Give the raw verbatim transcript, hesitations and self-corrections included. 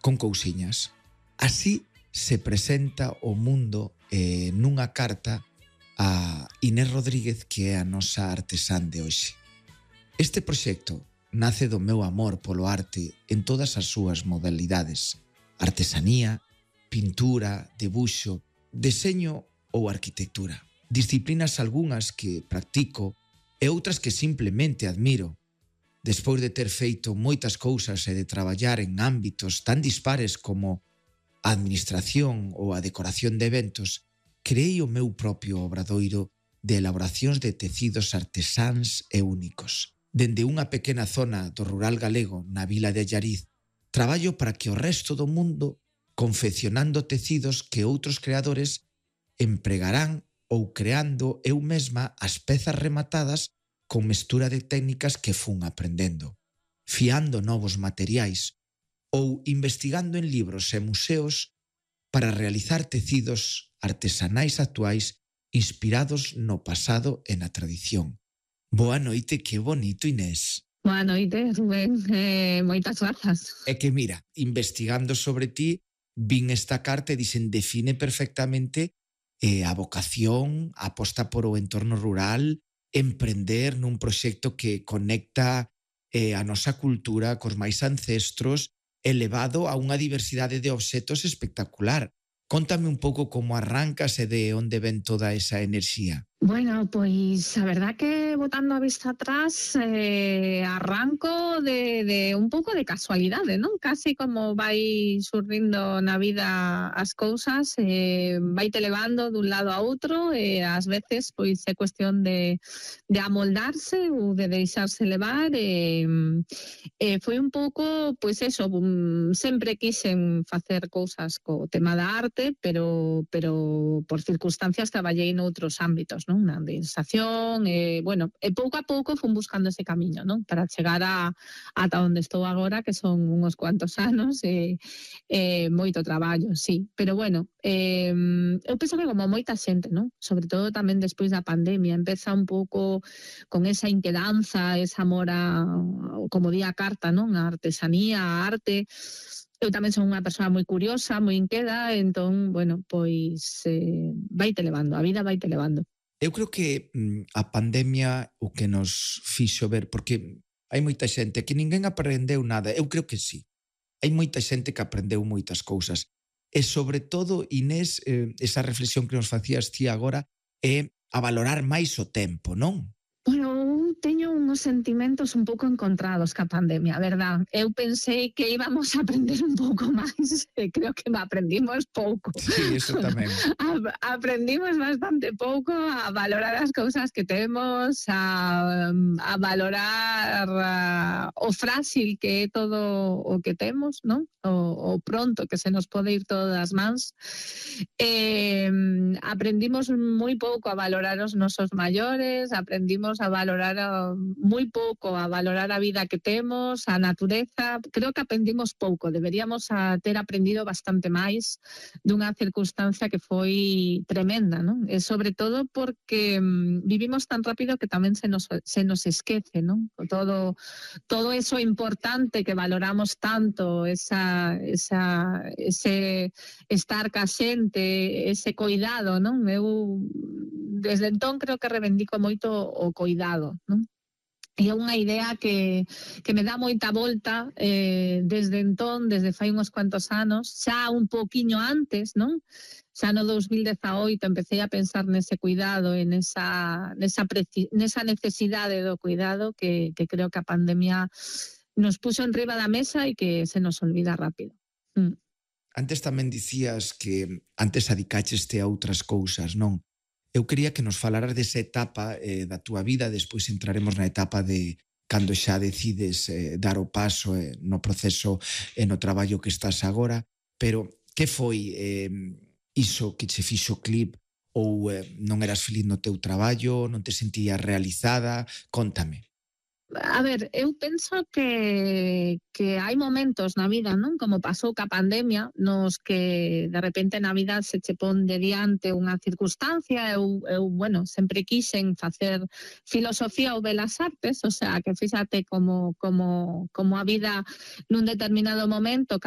con cousiñas. Así se presenta o mundo eh, nunha carta a Inés Rodríguez, que é a nosa artesán de hoxe. Este proxecto nace do meu amor polo arte en todas as súas modalidades: artesanía, pintura, debuxo, deseño ou arquitectura. Disciplinas algunhas que practico e outras que simplemente admiro. Despois de ter feito moitas cousas e de traballar en ámbitos tan dispares como a administración ou a decoración de eventos, creei o meu propio obradoiro de elaboracións de tecidos artesáns e únicos. Dende unha pequena zona do rural galego na vila de Allariz, traballo para que o resto do mundo confeccionando tecidos que outros creadores empregarán ou creando eu mesma as pezas rematadas con mestura de técnicas que fun aprendendo, fiando novos materiais ou investigando en libros e museos para realizar tecidos artesanais actuais inspirados no pasado e na tradición. Boa noite, que bonito, Inés. Boa noite, Rubén, eh, moitas grazas. É que mira, investigando sobre ti, vin esta carta e dixen define perfectamente eh, a vocación, a aposta por o entorno rural, emprender nun proxecto que conecta eh, a nosa cultura cos máis ancestros, elevado a unha diversidade de obxetos espectacular. Cóntame un pouco como arrancas e de onde ven toda esa enerxía. Bueno, pois a verdad que botando a vista atrás eh, arranco de, de un pouco de casualidade, non? Casi como vai surrindo na vida as cousas, eh, vai te levando dun lado a outro e ás veces pois é cuestión de, de amoldarse ou de deixarse levar e, e foi un pouco, pois eso, um, sempre quixen facer cousas co tema da arte, pero, pero por circunstancias traballei noutros ámbitos, non? Na administración, e, bueno, e pouco a pouco fun buscando ese camiño, non? Para chegar a ata onde estou agora, que son uns cuantos anos e, e moito traballo, sí. Pero, bueno, eh, eu penso que como moita xente, non? Sobre todo tamén despois da pandemia, empeza un pouco con esa inquedanza, ese amor a, como di a carta, non? A artesanía, a arte. Eu tamén son unha persoa moi curiosa, moi inqueda, entón, bueno, pois eh, vaite levando, a vida vaite levando. Eu creo que mm, a pandemia o que nos fixo ver, porque hai moita xente que ninguén aprendeu nada, eu creo que sí. Hai moita xente que aprendeu moitas cousas. E sobre todo, Inés, eh, esa reflexión que nos facías ti agora é a valorar máis o tempo, non? Bueno, eu teño uns sentimentos un pouco encontrados ca pandemia, verdad? Eu pensei que íbamos a aprender un pouco máis e creo que aprendimos pouco. Sí, eso tamén. A, aprendimos bastante pouco a valorar as cousas que temos, a, a valorar a, o frágil que é todo o que temos, non? O, o pronto que se nos pode ir todo das mans. Eh, aprendimos moi pouco a valorar os nosos maiores, aprendimos a valorar a, moi pouco a valorar a vida que temos, a natureza. Creo que aprendimos pouco, deberíamos a ter aprendido bastante máis dunha circunstancia que foi tremenda, non? E sobre todo porque mm, vivimos tan rápido que tamén se nos, se nos esquece, non? Todo, todo eso importante que valoramos tanto, esa, esa, ese estar ca xente, ese coidado, non? Eu desde entón creo que reivindico moito o coidado, non? E é unha idea que, que me dá moita volta eh, desde entón, desde fai uns cuantos anos, xa un poquiño antes, non? Xa no dos mil dezaoito empecé a pensar nese cuidado e nesa, nesa, preci, nesa necesidade do cuidado que, que creo que a pandemia nos puxo en riba da mesa e que se nos olvida rápido. Mm. Antes tamén dicías que antes adicaxeste a outras cousas, non? Eu quería que nos falaras desa etapa eh, da túa vida, despois entraremos na etapa de cando xa decides eh, dar o paso eh, no proceso e no traballo que estás agora, pero que foi eh, iso que che fixo clip ou eh, non eras feliz no teu traballo, non te sentías realizada? Cóntame. A ver, eu penso que, que hai momentos na vida, non? Como pasou ca pandemia, nos que de repente na vida se che pon de diante unha circunstancia. Eu, eu bueno, sempre quixen facer filosofía ou belas artes, o sea, que fíxate como, como, como a vida nun determinado momento, cando